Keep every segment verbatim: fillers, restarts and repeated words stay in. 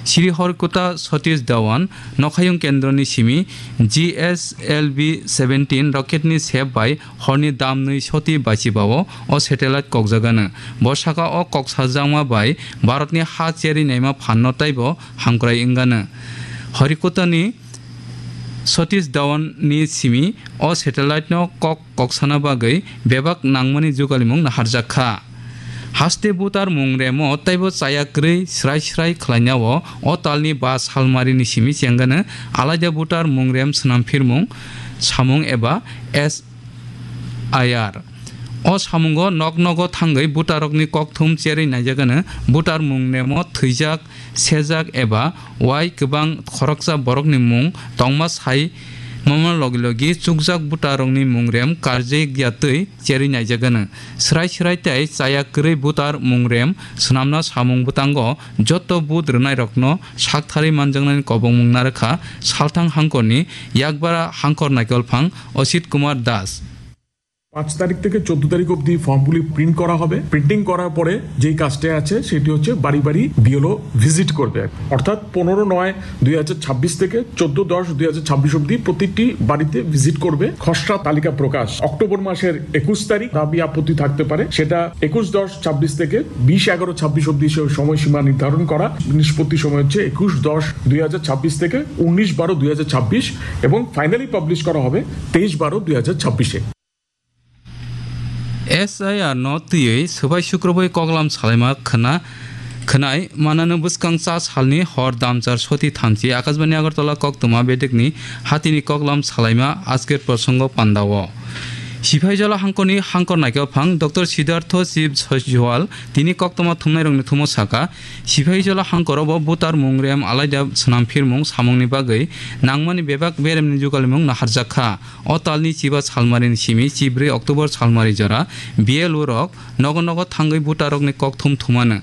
Sri Horikota Satish Dhawan nokhayung kendroni simi G S L V seventeen rocket ni sep bai horni damnwi soti bachibao o satellite kokjagano. Bo saka o koksajakma bai Bharatni ha cherwi naima phanno taibo hamkrai wngano. Horikotani Satish Dhawan ni simi o satellite no kok koksana bagwi bebak nangmani jugalimung naharjak kha. Haste butar mung remo taibo chaya kwrwi srai srai khlainao o talni ba salmari ni simi chengano alaida butar mung rem swnam phirmung samung eba S I R. O samungo nok nogo thangwi butarokni kokthum cherwi naijagano butar mung remo thwijak sejak eba wai kwbang khoroksa borokni mung tongma sai mama logi logi chukjak butarokni mung rem karjak ya twi cherwi naijagano. Srai srai tei chaya kwrwi butar mung rem swnamna samung bwtango joto vote rwnairokno saktharwi manjaknani kobongmung narwkha Salthang hangkorni yakbara hangkor naikolphang Osit Kumar Das. পাঁচ তারিখ থেকে চোদ্দ তারিখ অবধি ফর্মগুলি প্রিন্ট করা হবে। প্রিন্টিং করার পরে যেই কাজটা আছে, সেটি হচ্ছে বাড়ি বাড়ি বিএলও ভিজিট করবে। অর্থাৎ পনেরো নয় দুই হাজার ছাব্বিশ থেকে চোদ্দ দশ দুই হাজার ছাব্বিশ অবধি প্রতিটি বাড়িতে ভিজিট করবে। খসড়া তালিকা প্রকাশ অক্টোবর মাসের একুশ তারিখ। দাবি আপত্তি থাকতে পারে, সেটা একুশ দশ ছাব্বিশ থেকে বিশ এগারো ছাব্বিশ অবধি সে সময়সীমা নির্ধারণ করা। নিষ্পত্তি সময় হচ্ছে একুশ দশ দুই হাজার ছাব্বিশ থেকে উনিশ বারো দুই হাজার ছাব্বিশ এবং ফাইনালি পাবলিশ করা হবে তেইশ বারো দুই হাজার ছাব্বিশে। S I R no twiwi swbai sukrubwi koklam salaima khwna khwnai manano bwskang cha salni hor damchar soti thamchi Akashbani Agartala koktwma bedekni hatini koklam salaima Ajker Prosongo pandao. Sipaijala hangkorni hangkor naikha phang Doctor Siddhartho Shiv Jowal tini koktwma thumnairokni thumo saka, Sipaijala hangkoro bo butar mung rem alaida swnam phirmung samungni bagwi nangmani bebak beremni jugalimung naharjak kha. O talni chiba salmarini simi chibrwi October salmari jora B L O rok nogo nogo thangwi butarokni kokthum thumano.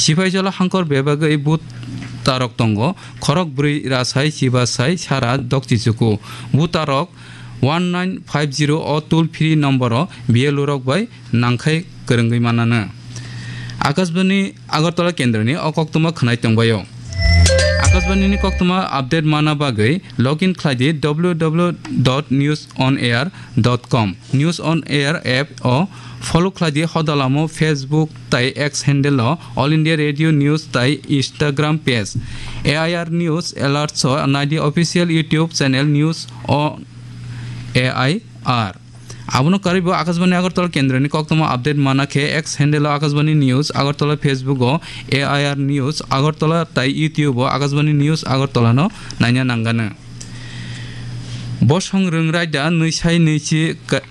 Sipaijala hangkor bebagwi butarok tongo, khorok brwi rasai chiba sai sara dokchichuku. Butarok one nine five zero o toll free nomboro B L O rok bai nangkhai kwrwngwi manano. Akashbani Agartala kendroni o koktwma khwnai tongbaio. Akashbani ni koktwma update mana bagwi login khlai di W W W dot news on air dot com. News on Air app o follow khlai di, hodalamo Facebook tai X handle o All India Radio News tai Instagram page A I R News Alerts o nai di official YouTube channel News on A I R. Abono karwi bo Akashbani Agartala kendroni koktwma update mana khe X handle o Akashbani News Agartala, Facebook o A I R News Agartala tai YouTube o Akashbani News Agartala no naina nangano. Bosong rwng raida nwi sai nwi chi ka-,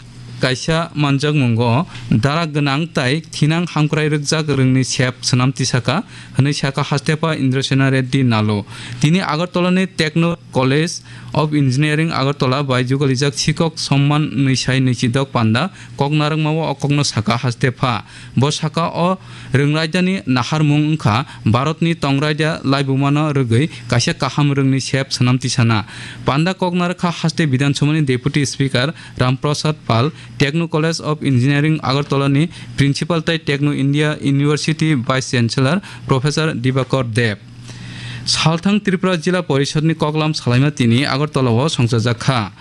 kaisa manjakmungo dara gwnang tai thinang hamkrai rwkjak rwngni sep swnam tisaka hwnwi saka Hastepha Indrasena Reddy Nalu. Tini Agartala ni Techno College of Engineering Agartala bai jugalijak sikok somman nwi sai nwi chi dok panda kok narwkmao o kokno saka Hastepha. Bo saka o rwng raidani naharmung wngkha Bharatni tong raida laibumano rwgwi kaisa kaham rwngni sep swnam tisana. Panda kok narwkha haste Bidhan Sabhani Deputy Speaker Ram Prasad Pal, Techno College of Engineering Agartala ni Principal tai Techno India University Vice Chancellor Professor Dibakar Deb. Salthang Tripura Jila Porishod ni koklam salaima tini Agartala o songchajak kha.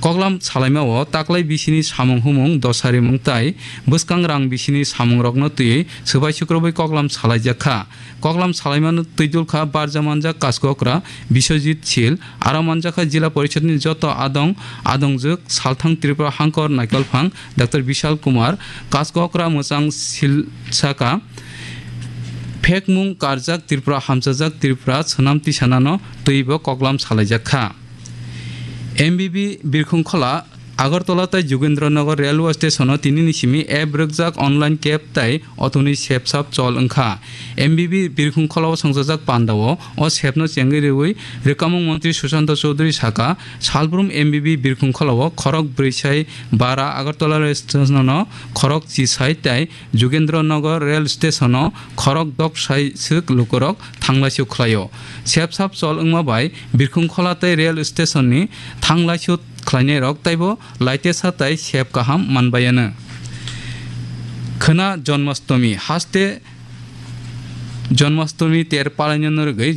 Koklam salaima o taklai bisini samung humung, dosarimung tai bwskang rang bisini samung rokno twiwi swbai sukrubwi koklam salaijak kha. Koklam salaimano twidul kha barja manjak Kaskokra Biswajit Sil, aro manjakha Jila Porishod ni joto adong adongjwk Salthang Tripura hangkor naikolphang Doctor Bishal Kumar, Kaskokra mwchang Sil saka phekmung karjak Tripura hamchajak Tripura swnam tisanano twibo koklam salaijak kha. M B B Birkhung Khola, Agartala tai Jogendra Nagar Railway Station o tini ni simi app rwkjak online cab tai auto ni sepsap chol wngkha. M B B Birkhung Khola o songchajak panda o o sep no chengwi rwui rwkamung montri Sushanta Chowdhury saka, salbrum M B B Birkhung Khola o khorok brwi sai bara Agartala Railway Station o khorok chi sai tai Jogendra Nagar Rail Station o khorok dok sai swk lukurok thanglaisu khlaio. Sepsap chol wngma bai Birkhung Khola tei rail station ni thanglaisu khlainairok taibo laitesa tai sep kaham manbaiano. Khwna Jonmastami haste Jonmastami ter palainano rwgwi